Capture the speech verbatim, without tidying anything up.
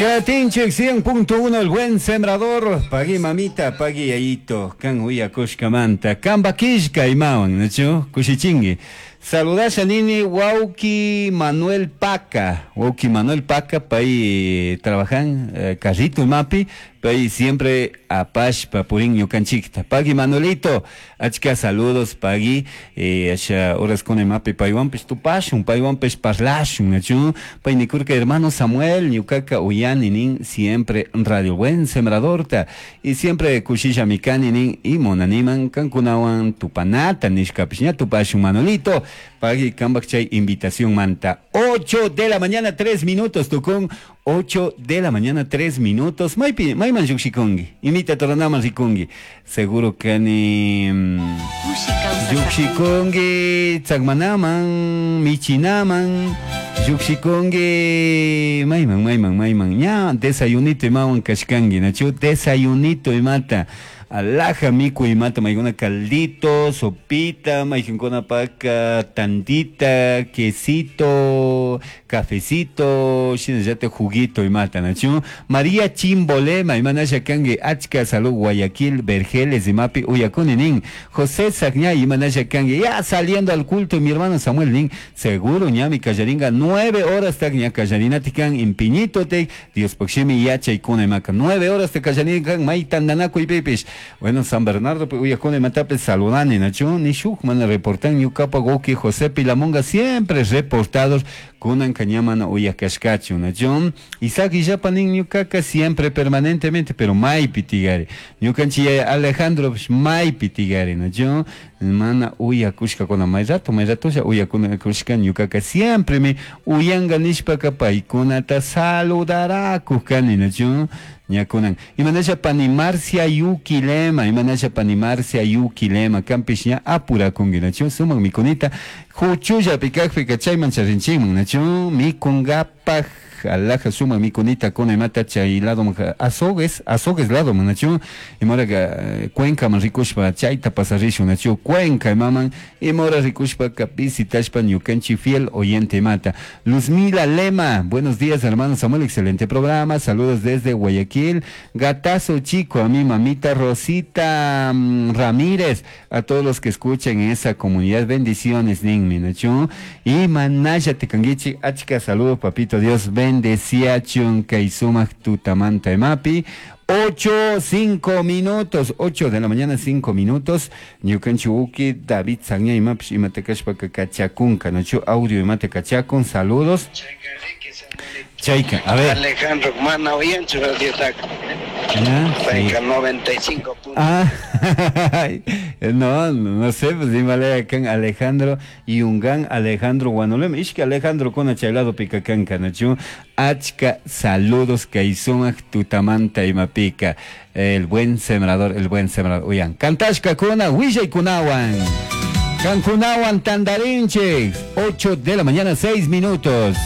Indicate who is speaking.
Speaker 1: Katinchik cien punto uno, El Buen Sembrador. Pagui mamita, pagui yayito, kan uyakushkamanta. Kamba kishka imawan, nachu? Kushichingi. Saludasha nini wauki Manuel Paca. Wauki Manuel Paca, pay trabajan eh, carrito imapi, pay siempre apashpa purin ñukanchikta. Pagui Manuelito, achka saludos, pagui. Eh, asha horas con imapi paywanpish tupashun, paywanpish parlashun, nachu? Pay nikurka: "Hermano Samuel, ñukaka uyani nin siempre Radio Buen Sembradorta y siempre kushillami kani nin y munaniman kankunawan tupanata" nishkapish. Ña tupashun, Manuelito. Pagui kambak chay invitación manta. ocho de la mañana, tres minutos, tukun. ocho de la mañana, tres minutos. Maypi, mayman llukshikungi. Imita toranaman rikungi. Seguro kani Mm, llukshikungi tsakmanaman, michinaman, llukshikungi mayman, mayman, mayman. Ña desayunito imawan kashkangi, nachu? Desayunito imata. Alaja miku imata, maykuna caldito, sopita, maykinkuna paka tantita, quesito, cafecito, shinallata juguito imata, nachu? María Chimbolema, imanasha kangi? Achka salud, Guayaquil, Vergeles, imapi uyakuni nin. José Sagñay, imanasha kangi? Ya saliendo al culto, mi hermano Samuel nin, seguro ñami kallaringa nueve horas tak ña kallarinatikan impiñito te Dios pokshimi yachaykuna imaka. Nueve horas te kallaringan may tandanakuy pipish. Bueno, San Bernardo uyakuna imatapi saludani, nachu? Ni shuk mana reportan. Ñukapa wawki José Pilamonga siempre reportados, kunan kañamana uyakashkachu, nachu? Isaac Illapa nin: "Ñukaka siempre permanentemente", pero maypi tigari. Ñukanchik yaya Alejandro maypi tigari, nachu? Mana uyakushkakuna may rato, may ratolla uyakushka. Ñukaka siempre mi uyanga nishpaka paykunata saludarakuj kani, nachu? Ñakunan imanasha pani Marcia Yuquilema, imanasha pani Marcia Yuquilema? Kampish ña apurakunki, nachu? Sumak mikunita huchullapi kakpika chayman charinchikman, nachu? Mikungapak alaja sumak mikunita kuna imata chay lado Azogues, Azogues lado, nachu? Imoraka Cuencaman rikushpa chayta pasarishun, nachu? Cuenca imaman imora rikushpaka visitashpa ñukanchik fiel oyente imata. Luzmila Lema: "Buenos días, hermano Samuel, excelente programa, saludos desde Guayaquil, gatazo chico a mi mamita Rosita mm, Ramírez, a todos los que escuchan en esa comunidad, bendiciones" ninmi, nachu? Y manaya tekangichi, achka saludos, papito Dios bendeciachun kay sumak tutamanta imapi. ocho, cinco minutos, ocho de la mañana, cinco minutos. Ñukanchik wawki David Sagña imapish imata kashpaka kachakunka, nachu? Audio imata kachakun, saludos. Chayka, a ver.
Speaker 2: Alejandro, mana uyanchu radiotaka.
Speaker 1: Ya, sí.
Speaker 2: Payka noventa y cinco puntos.
Speaker 1: Ah, no, no sé, pues imale kan Alejandro y ungan Alejandro Guanolem. Ishki Alejandro kuna chay lado pika kanka, nachu? Achka saludos kay sumak tutamanta imapika. El Buen Sembrador, El Buen Sembrador. Uyan, kantashka kuna, willaykunawan. Kankunawan tandarinchik. ocho de la mañana, seis minutos.